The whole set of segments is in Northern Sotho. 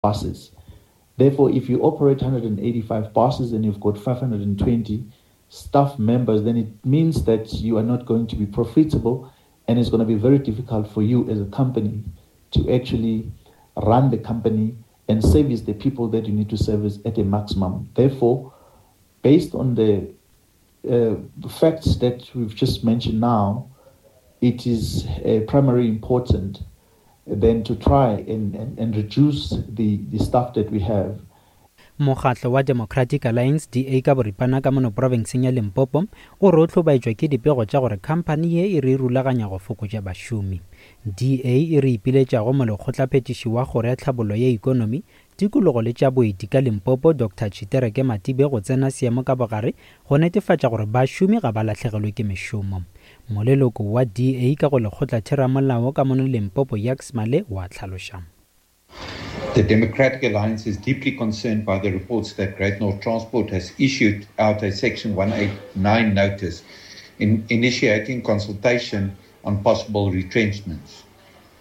Buses. Therefore, if you operate 185 buses and you've got 520 staff members, then it means that you are not going to be profitable and it's going to be very difficult for you as a company to actually run the company and service the people that you need to service at a maximum. Therefore, based on the uh, facts that we've just mentioned now, it is uh, primary important than to try and, and, and reduce the, the staff that we have. Mokgatlo wa Democratic Alliance, DA ka boripana ka mono profenseng ya Limpopo, o re o hlobaetšwa ke dipego tša gore khamphani ye e re e rulaganya go fokotša bašomi. DA e re ipiletša go Molekgotlaphethiši wa Kgoro ya Tlhabollo ya Ikonomi, Tikologo le tša Boeti ka Limpopo, Doctor Tshitereke Matibe go tsena seemo ka bogare go netefatša gore bašomi ga ba lahlegelwe ke mešomo. Moleloko wa DA ka go Lekgotlatheramolao ka mono Limpopo Jacques Male o a hlaloša. The Democratic Alliance is deeply concerned by the reports that Great North Transport has issued out a Section 189 notice in initiating consultation on possible retrenchments.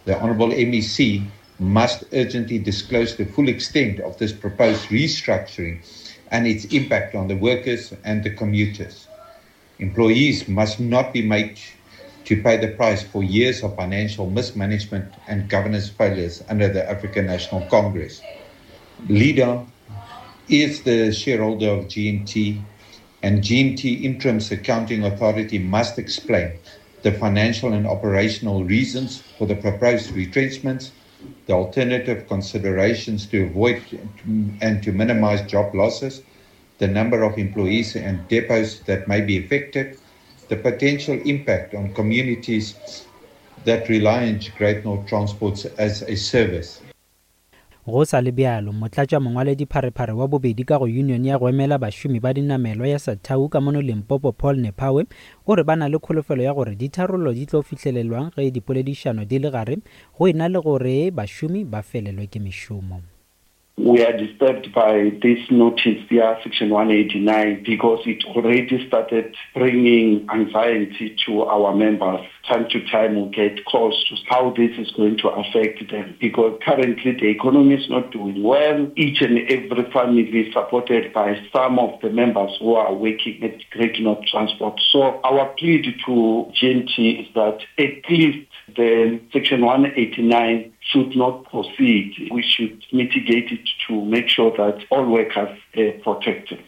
The Honourable MEC must urgently disclose the full extent of this proposed restructuring and its impact on the workers and the commuters. Employees must not be made to pay the price for years of financial mismanagement and governance failures under the African National Congress. Leader is the shareholder of GNT, and GNT Interim's accounting authority must explain the financial and operational reasons for the proposed retrenchments, the alternative considerations to avoid and to minimize job losses, the number of employees and depots that may be affected, the potential impact on communities that rely on Great North Transports as a service. Go sa le bjalo, motlatšamongwaledipharephare wa bobedi ka go yunione ya go emela bašomi ba dinamelwa ya Satau ka mono Limpopo Paul Nephawe o re ba na le kholofelo ya gore ditharollo di tlo fihlelelwang ge dipoledišano di le gare go e na le gore bašomi ba felelwe ke mešomo. We are disturbed by this notice ya Section 189 because it already started bringing anxiety to our members. Time to time we get calls to how this is going to affect them because currently the economy is not doing well. Each and every family is supported by some of the members who are working at Great North Transport. So our plea to GNT is that at least the Section 189 should not proceed. We should mitigate it to make sure that all workers are protected.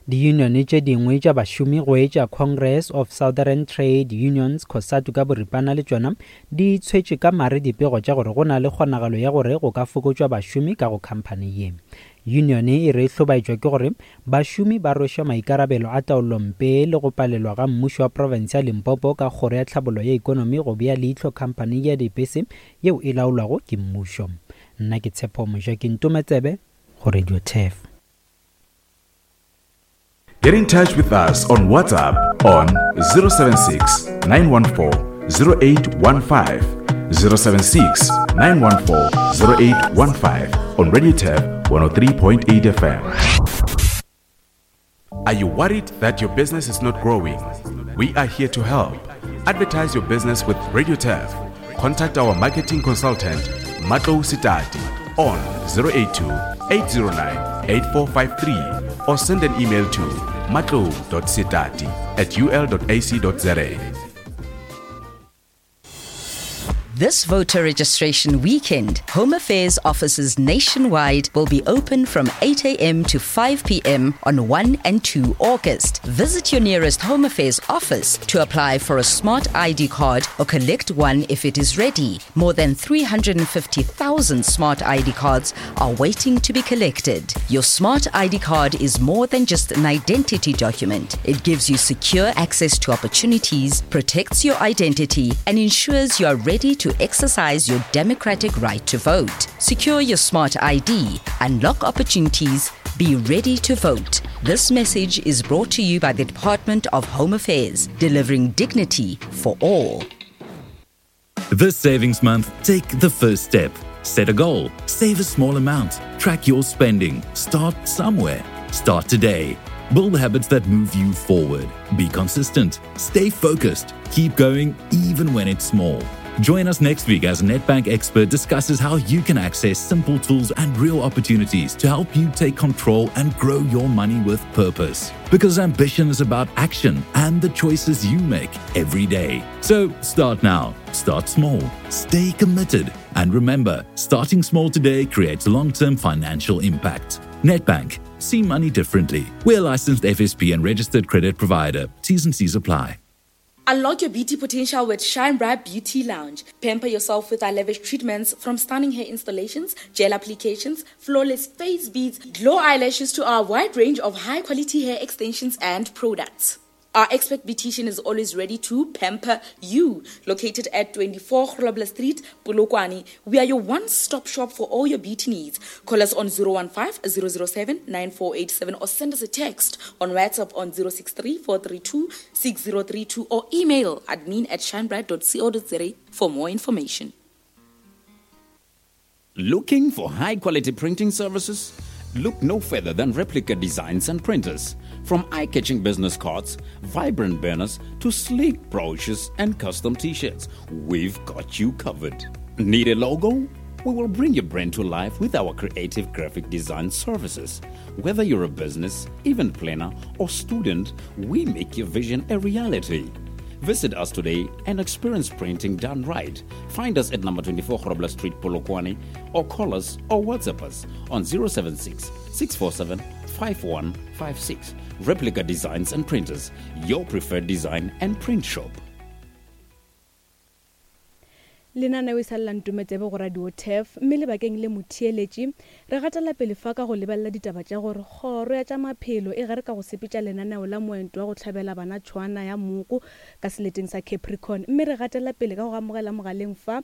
Diyunione tše dingwe tša bašomi go etša Congress of Southern Trade Unions, COSATU ka boripana, le tšona di tshwetše ka mare dipego tša gore go na le kgonagalo ya gore go ka fokotšwa bašomi ka go khamphani ye. Yunione e re e hlobaetšwa ke gore bašomi ba rwešwa maikarabelo a taolompe le go palelwa ga mmušo wa profense ya Limpopo ka Kgoro ya Tlhabollo ya Ikonomi go bea leihlo khamphani ya dipese yeo e laolwago ke mmušo. Nna ke Tshepo Mojaki Ntometsebe go Radio Turf. Get in touch with us on WhatsApp on 076 914 0815. 076 914 0815 on Radio Tab 103.8 FM. Are you worried that your business is not growing? We are here to help. Advertise your business with Radio Turf. Contact our marketing consultant, Matlo Sitati, on 082 809 8453 or send an email to matlo.sitati at ul.ac.za. This voter registration weekend, Home Affairs offices nationwide will be open from 8 a.m. to 5 p.m. on 1 and 2 August. Visit your nearest Home Affairs office to apply for a smart ID card or collect one if it is ready. More than 350,000 smart ID cards are waiting to be collected. Your smart ID card is more than just an identity document. It gives you secure access to opportunities, protects your identity, and ensures you are ready to exercise your democratic right to vote. Secure your smart ID, unlock opportunities, be ready to vote. This message is brought to you by the Department of Home Affairs, delivering dignity for all. This savings month, take the first step. Set a goal, save a small amount, track your spending, start somewhere. Start today. Build habits that move you forward. Be consistent, stay focused, keep going even when it's small. Join us next week as Nedbank expert discusses how you can access simple tools and real opportunities to help you take control and grow your money with purpose. Because ambition is about action and the choices you make every day. So start now, start small, stay committed, and remember starting small today creates long term financial impact. Nedbank, see money differently. We're licensed FSP and registered credit provider. T's and C's apply. Unlock your beauty potential with Shine Bright Beauty Lounge. Pamper yourself with our lavish treatments from stunning hair installations, gel applications, flawless face beads, glow eyelashes to our wide range of high quality hair extensions and products. Our expert beautician is always ready to pamper you. Located at 24 Grobler Street, Polokwane, we are your one-stop shop for all your beauty needs. Call us on 015 007 9487 or send us a text on WhatsApp on 063 432 6032 or email admin at shinebright.co.za for more information. Looking for high quality printing services? Look no further than Replica Designs and Printers. From eye catching business cards, vibrant banners, to sleek brochures and custom t shirts, we've got you covered. Need a logo? We will bring your brand to life with our creative graphic design services. Whether you're a business, event planner, or student, we make your vision a reality. Visit us today and experience printing done right. Find us at number 24 Grobler Street, Polokwane, or call us or WhatsApp us on 076 647 5156. Replica Designs and Printers, your preferred design and print shop. Lenaneo e sa lela Ntometsebe go Radio Turf mme lebakeng le motheeletši re gatela pele fa ka go lebelela ditaba tša gore kgoro ya tša maphelo e gare ka go sepetša lenaneo la moento wa go hlabela bana tšhwaana ya mooko ka seleteng sa Capricorn mme re gatela pele ka go amogela mogaleng fa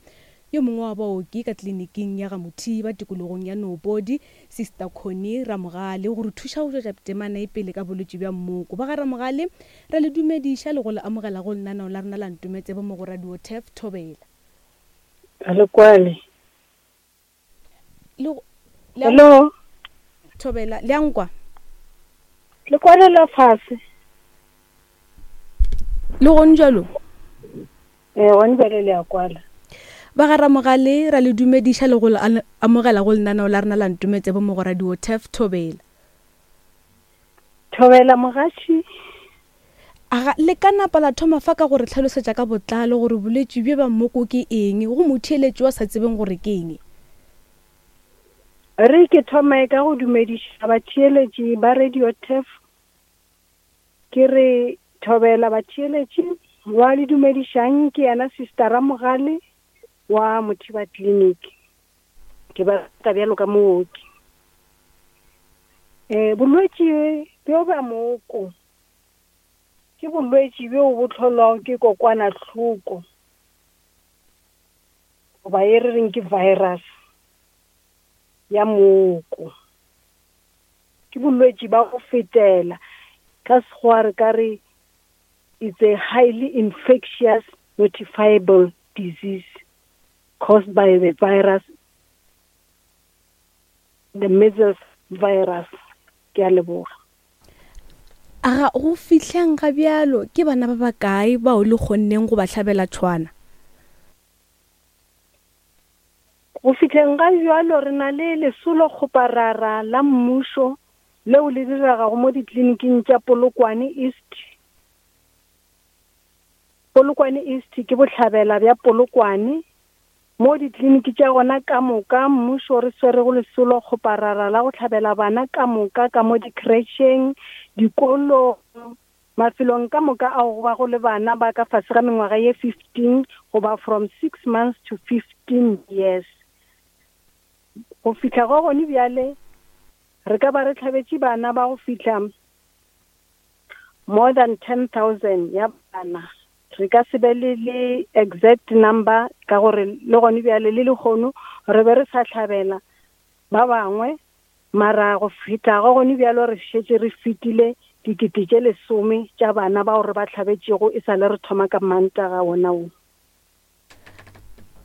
yo mongwe wa baoki ka kliniking ya ga Mothiba tikologong ya Noopodi Sister Connie Ramogale go re thuša go tšwetša temana e pele ka bolwetši bja mmoko. Ba ga Ramogale ra le dumediša le go le amogela go lenaneo la rena la Ntometsebe mo go Radio Turf Thobela. A le kwale. Le le Hello. Thobela, le a nkwa? Le kwalela fase. Le gone jalo? Eh, gone bjale le a kwala. Ba ga Ramogale ra le dumediša le go le amogela go lenaneo la rena la Ntometsebo mo go Radio Turf Thobela. Thobela mogaši. Aga, le ka napa la thoma fa ka go re hlalosetša ka botlalo gore bolwetši bjo bja mmoko ke eng, go motheeletši wa sa tsebeng gore ke eng? Re ke thome ka go dumediša batheeletši ba Radio Turf. Ke re thobela batheeletši, wa le dumedišang ke yena Sister Ramogale wa Mothiba Clinic. Ke bereka bjalo ka mooki. Um bolwetši bjo bja mooko ke bolwetši bjo bo hlolwago ke kokwanahloko goba e re reng ke virus ya mooko. Ke bolwetši ba go fetela ka Sekgowa re ka re it's a highly infectious notifiable disease caused by the virus the measles virus. Ke a leboga. Aga go fihleng ga bjalo ke bana ba bakae bao le kgonneng go ba hlabela tšhwana? Go fihleng ga bjalo re na le lesolokgoparara la mmušo leo le diregago mo dikliniking tša Polokwane East. Polokwane East ke bohlabela bja Polokwane, mo dikliniki tša gona ka moka mmušo re swerego lesolo kgoparara la go hlabela bana ka moka ka mo dikhretšheng, dikolong, mafelong ka moka ao go bago le bana ba ka fase ga mengwaga ye 15 goba from 6 months to 15 years. Go fihla go gone bjale re ka ba re hlabetše bana ba go fihla more than 10,000 ya bana. Re ka se be le le exact number ka gore le gone bjale le lehono re be re sa hlabela ba bangwe, mara go fihla go gone bjalo re šetše re fetile dikete tše lesome tša bana bao re ba hlabetšego e sa le re thoma ka Mantaga wona wo.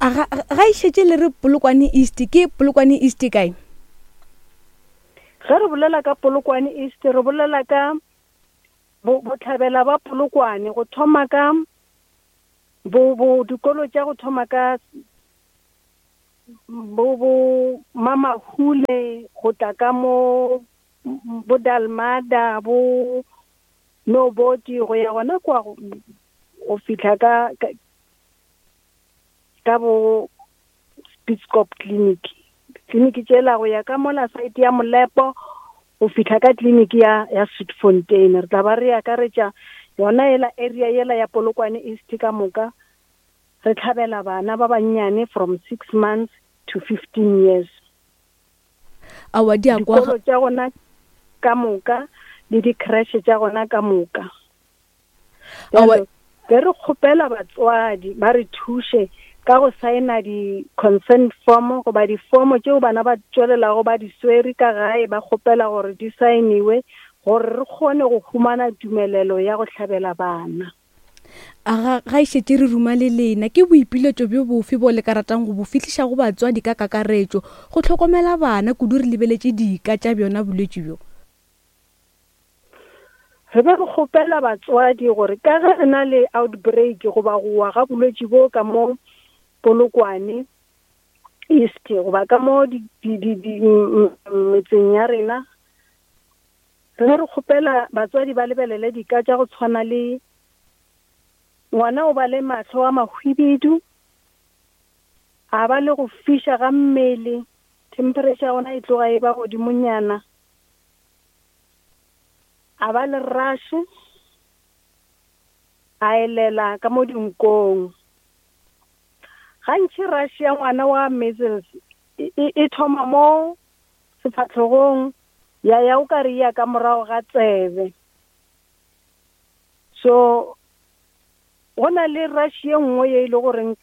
A ga, ga e šetše le re Polokwane East, ke Polokwane East kae? Ge re bolela ka Polokwane East, re bolela ka bo, bohlabela ba Polokwane, go thoma ka Bo bo dikolo tša go thoma ka bo bo Mamahule go tla ka mo bo Dalmada bo Noboti go ya gona kwa go fihla ka ka bo Spitzkop clinic. Clinic tšela go ya ka mola site ya Molepo go fihla ka clinic ya ya Sweetfontein. Re tla ba re akaretša yona yela area yela ya Polokwane East ka moka. Re hlabela bana ba bannyane from 6 months to 15 years. Aowa di a kwa. Dikolo tša gona ka moka le di-creche tša gona ka moka. Aowa. Be re kgopela batswadi ba re thuše ka go saena di-consent form goba difomo tšeo bana ba tšwelelago ba di swere ka gae ba kgopela gore di saeniwe gore re kgone go humana tumelelo ya go hlabela bana. A ga, ga e šetše re ruma le lena, ke boipiletšo bjo bofe bo le ka ratang go bo fihliša go batswadi ka kakaretšo go hlokomela bana, kudu re lebeletše dika tša bjona bolwetši bjo? Re be re kgopela batswadi gore ka ge re na le outbreak goba go wa ga bolwetši bo ka mo Polokwane East goba ka mo di, di, di, di, metseng ya rena, Re be re kgopela batswadi ba lebelele dika tša go tshwana le ngwana o ba le mahlo a mahwibidu, a ba le go fiša ga mmele, temperature ya gona e tloga e ba godimonyana, a ba le rash, a elela ka mo dinkong. Gantši rash ya ngwana wa measles e, e, e thoma mo sefahlogong ya ya o ka re ya ka morago ga tsebe. So go na le rash ye nngwe ye e le goreng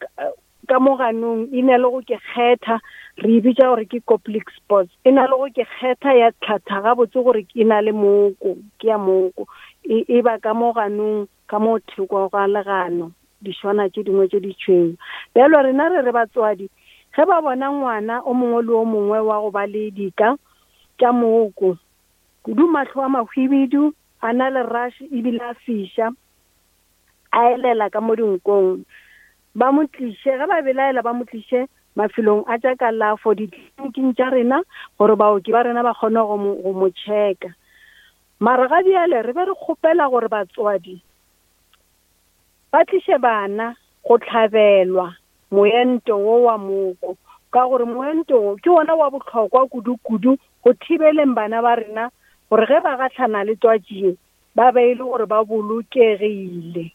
ka mo ganong e na le go ke kgetha, re e bitša gore ke Koplik spots. E na le go ke kgetha ya tlhatha gabotse gore e na le mooko, ke ya mooko. E, e ba ka mo ganong, ka mo thoko ga legano, dišwana tše dingwe tše ditšhweu. Bjalo rena re re batswadi, ge ba bona ngwana o mongwe le o mongwe wa go ba le dika tša mooko, kudu mahlo a mahwibidu, a na le rash ebile a fiša, a elela ka mo dinkong, ba mo tliše, ge ba belaela ba mo tliše mafelong a tša kalafo, ditleliniking tša rena, gore baoki ba rena ba kgone go mo, go mo checka. Mara ga bjale re be re kgopela gore batswadi ba tliše bana go hlabelwa moento wo wa mooko, ka gore moento wo ke wona wa bohlokwa kudu-kudu go thibeleng bana ba rena gore ge ba gahlana le twatši ye ba be e le gore ba bolokegile.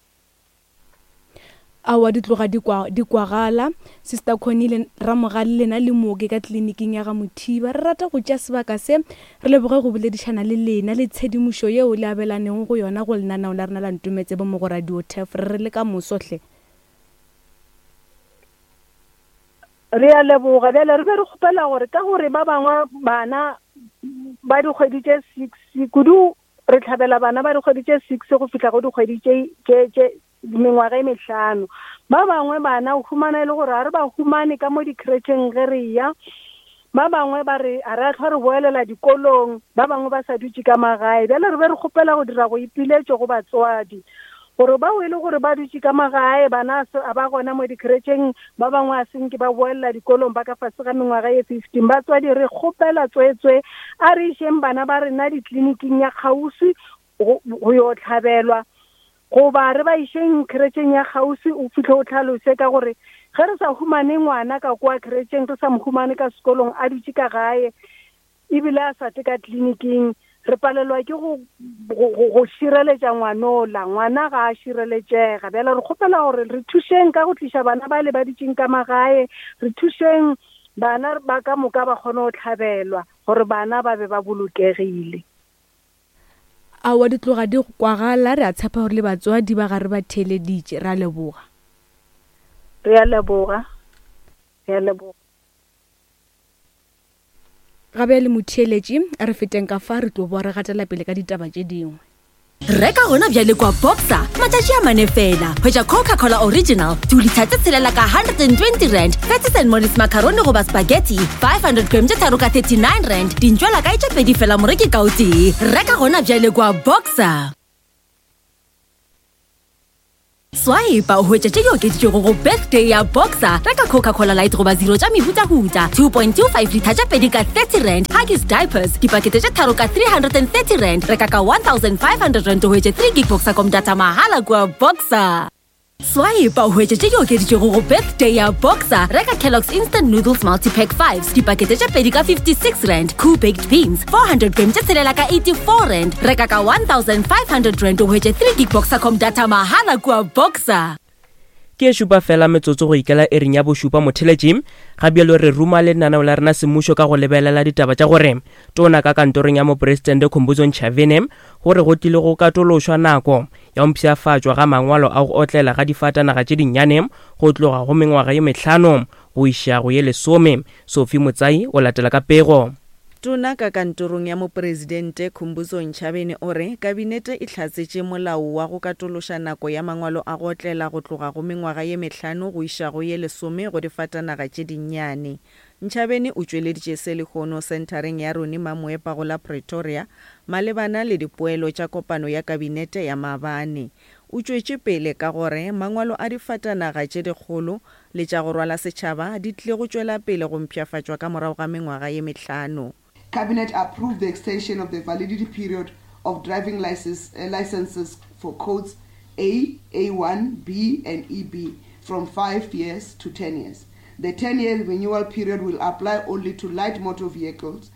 Aowa di tloga di kwa di kwagala. Sister Connie le Ramogale lena le mooki ka tleliniking ya ga Mothiba. Re rata go tšea sebaka se re leboge go boledišana le lena le tshedimošo yeo le abelaneng go yona go lenaneo la rena la Ntometsebo mo go Radio Turf. Re re le ka moso hle. Re a leboga. Bjale re be re kgopela gore ka gore ba bangwe bana ba dikgwedi tše six kudu Re hlabela bana ba dikgwedi tše six go fihla go dikgwedi tše, tše, tše mengwaga e mehlano. Ba bangwe bana o humana e le gore ga re ba humane ka mo dikretšheng ge re eya. Ba bangwe ba re ga re a hlwa re boelela dikolong, ba bangwe ba sa dutše ka magae. Bjale re be re kgopela go dira go ipiletšo go batswadi gore bao e le gore ba dutše ka magae, bana a ba gona mo dikretšheng, ba bangwe a senke ba boelela dikolong ba ka fase ga mengwaga ye 15. Batswadi re kgopela tswetswe a re išeng bana ba rena ditleliniking ya kgauswi go, go yo hlabelwa, goba re ba išeng kretšeng ya kgauswi. O fihle o hlalose ka gore ge re sa humane ngwana ka kwa kretšeng, re sa mo humane ka sekolong a dutše ka gae ebile a sa tle ka tleliniking, re palelwa ke go, go, go, go šireletša ngwanola. Ngwana ga a šireletšega. Bjale re kgopela gore re thušeng ka go tliša bana bale ba dutšeng ka magae, re thušeng bana ba ka moka ba kgone go hlabelwa gore bana ba be ba bolokegile. Aowa di tloga di kwagala, re a tshepa gore le batswadi ba gare ba theeleditše. Re a leboga. Re a leboga. Re a leboga. Ga bjale motheeletši, re feteng ka fa re tlo boa re gatela pele ka ditaba tše dingwe. Reka gona bjale kwa Boxer matšatši a mane fela. Hwetša Coca-Cola Original 2 litha tše tshelela ka 120 rand, Patties and Mollies macaroni goba spaghetti 500 gram tše tharo ka 39 rand, dintšwela kae tše pedi fela moreki ka o tee. Reka gona bjale kwa Boxer. Swipe o hwetše tše di okeditšwego go birthday ya Boxer. Reka Coca-Cola Light goba Zero tša mehutahuta 2.25 litha tše pedi ka 30 rand, Huggies diapers dipakete tše tharo ka 330 rand. Reka ka 1500 rand o hwetše 3 gig Boxercom data mahala kua Boxer. Swipe o hwetše tše di okeditšwego go birthday ya Boxer. Reka Kellogg's Instant Noodles Multipack 5 dipakete tše pedi ka 56 rand, Koo Baked Beans 400 gram tše tshelela ka 84 rand. Reka ka 1500 rand o hwetše 3 gig Boxercom data mahala kua Boxer. Ke e šupa fela metsotso go ikela iring ya bošupa motheletši. Ga bjalo re ruma lenaneo la rena semmušo ka go lebelela ditaba tša gore tona ka kantorong ya mopresidente Khumbudzo Ntshavheni gore go tlile go katološwa nako ya go mpshafatšwa ga mangwalo a go otlela ga difatanaga tše dinnyane go tloga go mengwaga ye mehlano go iša go ye lesome. Sophie Motsai o latela ka pego. Tona ka kantorong ya Mopresidente Khumbudzo Ntshavheni o re Kabinete e hlatsetše molao wa go katološa nako ya mangwalo a go otlela go tloga go mengwaga ye mehlano go iša go ye lesome go difatanaga tše dinnyane. Ntshavheni o tšweleditše se lehono senthareng ya Ronnie Mamoepa go la Pretoria malebana le dipoelo tša kopano ya Kabinete ya maabane. O tšwetše pele ka gore mangwalo a difatanaga tše dikgolo le tša go rwala setšhaba di tlile go tšwela pele go mpshafatšwa ka morago ga mengwaga ye mehlano. Cabinet approved the extension of the validity period of driving licences for codes A, A1, B and EB from 5 years to 10 years. The 10-year renewal period will apply only to light motor vehicles.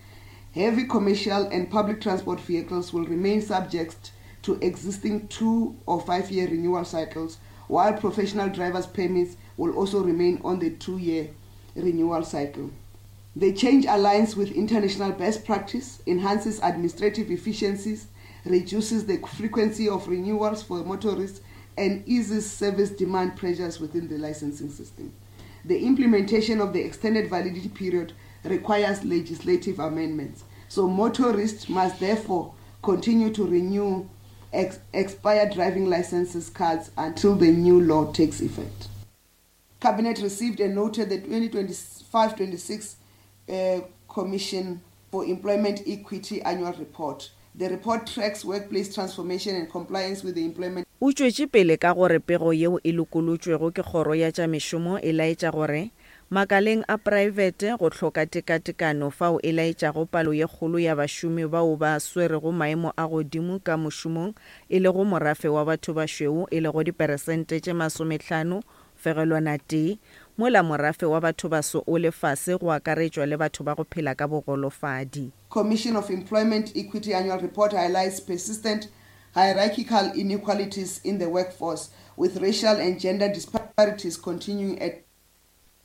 Heavy commercial and public transport vehicles will remain subject to existing 2 or 5-year renewal cycles, while professional drivers' permits will also remain on the 2-year renewal cycle. The change aligns with international best practice, enhances administrative efficiencies, reduces the frequency of renewals for motorists, and eases service demand pressures within the licensing system. The implementation of the extended validity period requires legislative amendments. So motorists must therefore continue to renew ex expired driving licenses cards until the new law takes effect. Cabinet received and noted the 2025-26 Commission for Employment Equity Annual Report. The report tracks workplace transformation and compliance with the Employment O tšwetše pele ka gore pego yeo e lokolotšwego ke Kgoro ya tša Mešomo e laetša gore makaleng a praebete go hloka tekatekano fao e laetšago palo ye kgolo ya bašomi bao ba swerego maemo a godimo ka mošomong e lego morafe wa bathobašweu e lego diperesente tše masomehlano fegelwana tee, mola morafe wa bathobaso o le fase go akaretšwa le batho ba go phela ka bogolofadi. Commission of Employment Equity Annual Report highlights persistent hierarchical inequalities in the workforce, with racial and gender disparities continuing at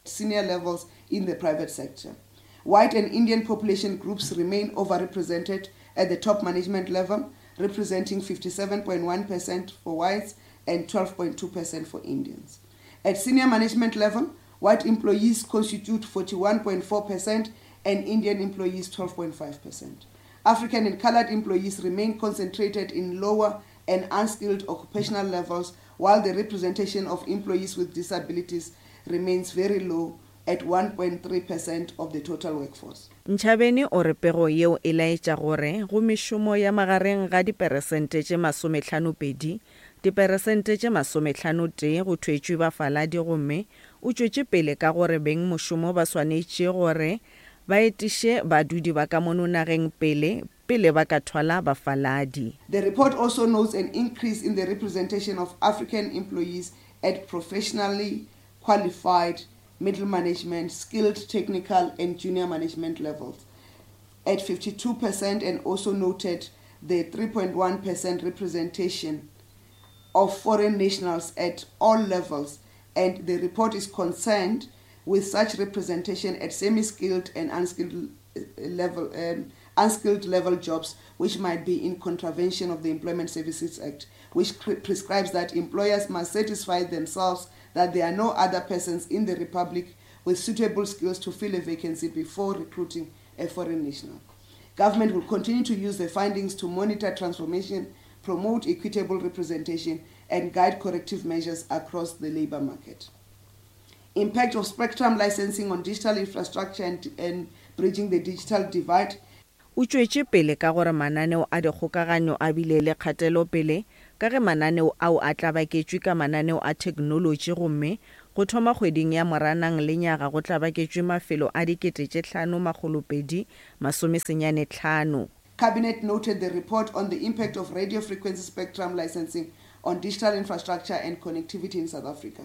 senior levels in the private sector. White and Indian population groups remain overrepresented at the top management level, representing 57.1% for whites and 12.2% for Indians. At senior management level, white employees constitute 41.4% and Indian employees 12.5%. African and colored employees remain concentrated in lower and unskilled occupational levels, while the representation of employees with disabilities remains very low at 1.3% of the total workforce. Ntshavheni o re pego yeo e laetša gore go mešomo ya magareng ga diperesente tše masomehlano-pedi, diperesente tše masomehlano-tee go thwetšwe bafaladi gomme o tšwetše pele ka gore bengmošomo ba swanetše gore ba etiše badudi ba ka mono nageng pele pele ba ka thwala bafaladi. The report also notes an increase in the representation of African employees at professionally qualified middle management, skilled technical and junior management levels at 52% and also noted the 3.1% representation of foreign nationals at all levels, and the report is concerned with such representation at semi-skilled and unskilled level jobs, which might be in contravention of the Employment Services Act, which prescribes that employers must satisfy themselves that there are no other persons in the Republic with suitable skills to fill a vacancy before recruiting a foreign national. Government will continue to use the findings to monitor transformation, promote equitable representation, and guide corrective measures across the labor market. Impact of spectrum licensing on digital infrastructure and bridging the digital divide. O tšwetše pele ka gore mananeo a dikgokaganyo a bile le kgatelopele ka ge mananeo ao a tlabaketšwe ka mananeo a theknolotši gomme go thoma kgweding ya Moranang lenyaga go tlabaketšwe mafelo a 5295. Cabinet noted the report on the impact of radio frequency spectrum licensing on digital infrastructure and connectivity in South Africa.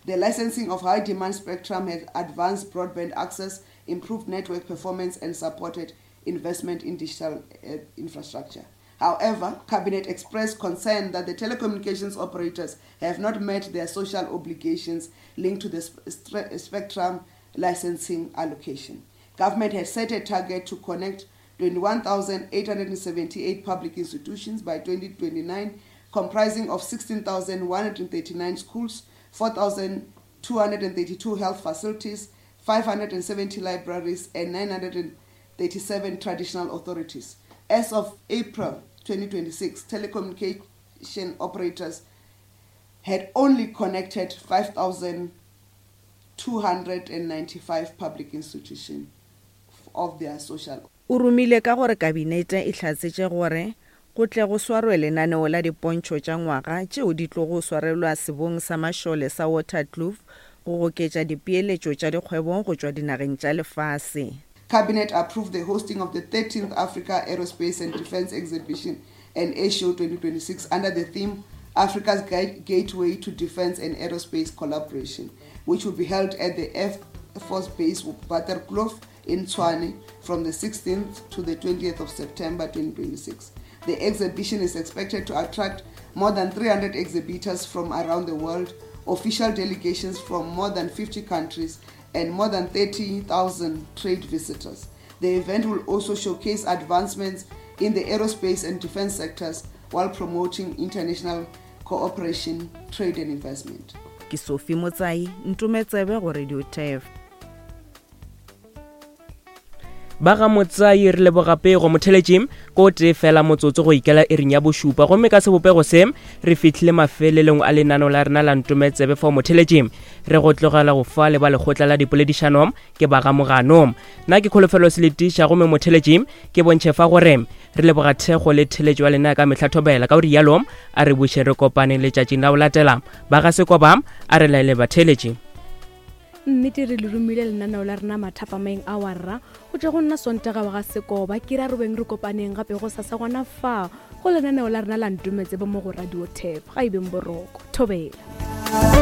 The licensing of high demand spectrum has advanced broadband access, improved network performance, and supported investment in digital uh, infrastructure. However, Cabinet expressed concern that the telecommunications operators have not met their social obligations linked to the spectrum licensing allocation. Government has set a target to connect 21,878 public institutions by 2029, comprising of 16,139 schools, 4,232 health facilities, 570 libraries, and 937 traditional authorities. As of April 2026, telecommunication operators had only connected 5,295 public institutions of their social O rumile ka gore Kabinete e hlatsetše gore go tle go swarwe lenaneo la dipontšho tša ngwaga tšeo di tlogo swarelwa sebong sa mašole sa Waterkloof go goketša dipeeletšo tša dikgwebo go tšwa dinageng tša lefase. Cabinet approved the hosting of the 13th Africa Aerospace and Defence Exhibition and Air Show 2026 under the theme Africa's Gateway to Defence and Aerospace Collaboration, which will be held at the Air Force Base Waterkloof in Tshwane from the 16th to the 20th of September 2026. The exhibition is expected to attract more than 300 exhibitors from around the world, official delegations from more than 50 countries, and more than 30,000 trade visitors. The event will also showcase advancements in the aerospace and defense sectors while promoting international cooperation, trade, and investment. Ke Sophie Motsai, Ntometsebe go Radio Turf. Ba ga Motsai re leboga pego motheletši ko tee fela motsotso go ikela iring ya bošupa gomme ka sebopego se re fihlile mafelelong a lenano la rena la ntometsebe fao motheletši re go tlogela go fa le ba lekgotla la dipoledišano ke ba ga mogano nna ke kholofelo se letiša gomme motheletši ke bontšhe fa gore re leboga thekgo le theletšo ya lena ka mehla thobela ka go rialo a re buše re kopane letšatšing la go latela ba ga sekoba a re laele batheletši Nnete re le romile lenaneo la rena mathapameng a warra go tšwa go nna Sontaga wa ga Sekoba ke ra robeng re kopaneng gape go sasa gona fa go lenaneo la rena la Ntometsebe mo go Radio Tap ga e beng boroko. Thobela.